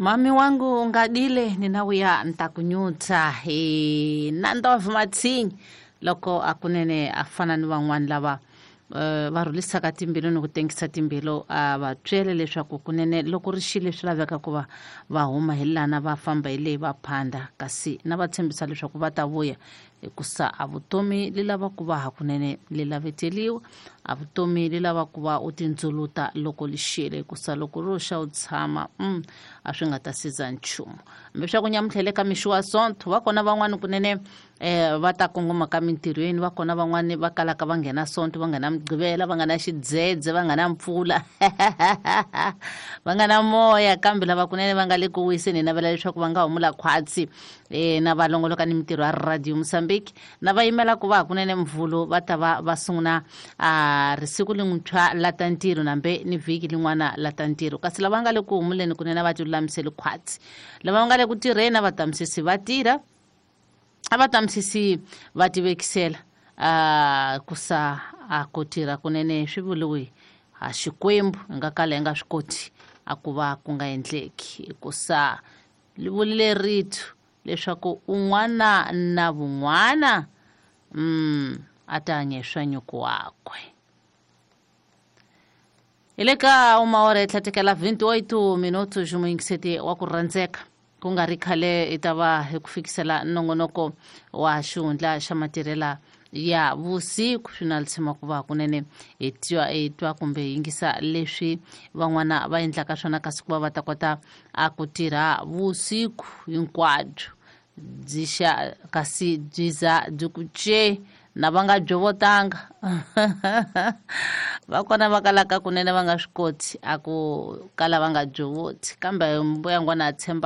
Mami wangu ungadile ninawuya ntakunyutsa hi Nandov Matsinyi loko akunene a fana ni van'wani lava va rhulisaka timbilu ni ku tengisa timbilu a va byele leswaku kunene loko ri xile swi laveka ku va va huma hi lana va famba hi leyi va phanda kasi na va tshembisa leswaku va ta vuya hikusa a vutomi li lava ku va hakunene li laveteliwa a vutomi li lava ku va u tindzuluta loko li xile hikusa loko ro xa u tshama a swi nga ta siza nchumu hambi swa ku nyamutlhele ka mixo wa Sonto va kona van'wani kunene va ta kongoma ka mintirhweni va kona van'wani va kalaka va nghena Sonto va nghena Mugqivela va nga na xidzedze va nga na mpfula va nga na moya kambe lava kunene va nga le ku wiseni hi navela leswaku va nga humula khwatsi na va longoloka ni mintirho ya Radio Mozambique na va yimela ku va hakunene Mvhulu va ta va va sungula a risiku lin'wintshwa la ta ntirho nambe ni vhiki lin'wana la ta ntirho kasi lava nga le ku humuleni kunene va tilulamiseli khwatsi lava va nga le ku tirheni a va tamisisi va tirha a va tamisisi va tivekisela ku sa a ku tirha kunene swi vuriwe ha Xikwembu hi nga kala hi nga swi koti a ku va ku nga endleki hikusa li vulile rito leswaku un'wana na vun'wana a ta hanya hi swa nyuku wakwe. Hi le ka uma ora yi tlhatekela 28 minutos muyingiseti wa ku rhandzeka ku nga ri khale hi ta va hi ku fikisela nongonoko wa xihundla xa matirhela ya vusiku swi na tshema ku va kunene hi twa kumbe hi yingisa leswi van'wana va endlaka swona kasi ku va va ta kota a ku tirha vusiku hinkwabyo byi xa kasi byi za byi ku ce na va nga byovotanga va kona va kalaka kunene va nga swi koti a ku kala va nga byovoti kambe mbuyangwana a tshemba.